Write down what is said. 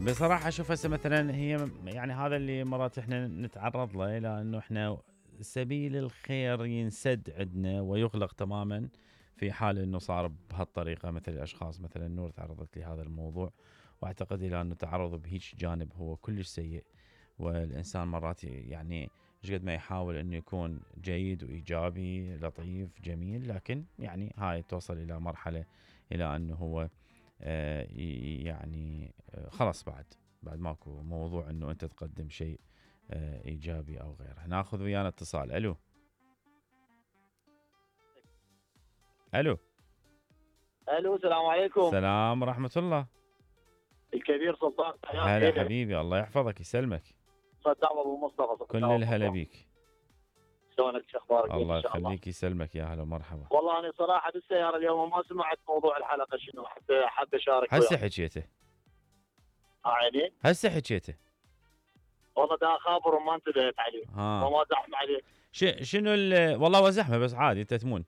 بصراحة اشوف هسه مثلا هي يعني هذا اللي مرات احنا نتعرض له، الى انه احنا سبيل الخير ينسد عندنا ويغلق تماما في حال انه صار بهالطريقة. مثل الاشخاص مثلا نور تعرضت لهذا الموضوع، واعتقد الى انه تعرض بهيج جانب هو كلش سيء. والانسان مرات يعني ايش قد ما يحاول انه يكون جيد وايجابي لطيف جميل، لكن يعني هاي توصل الى مرحلة الى انه هو يعني خلاص بعد ماكو موضوع انه انت تقدم شيء ايجابي او غيره. ناخذ ويانا اتصال. الو الو الو، السلام عليكم. السلام ورحمة الله. الكبير سلطان. هلا حبيبي، الله يحفظك يسلمك. صدام ابو مصطفى. كل الهلا بيك. شلونك؟ شو اخبارك؟ الله يخليك يسلمك، يا هلا ومرحبا. والله انا صراحه بالسياره اليوم ما سمعت موضوع الحلقه شنو، حتى اشارك هسه وياك. حكيته عيني هسه حكيته. والله دا اخابر وما انتبهت عليه وما زحمه عليك. شنو والله هو زحمه بس عادي انت تمون.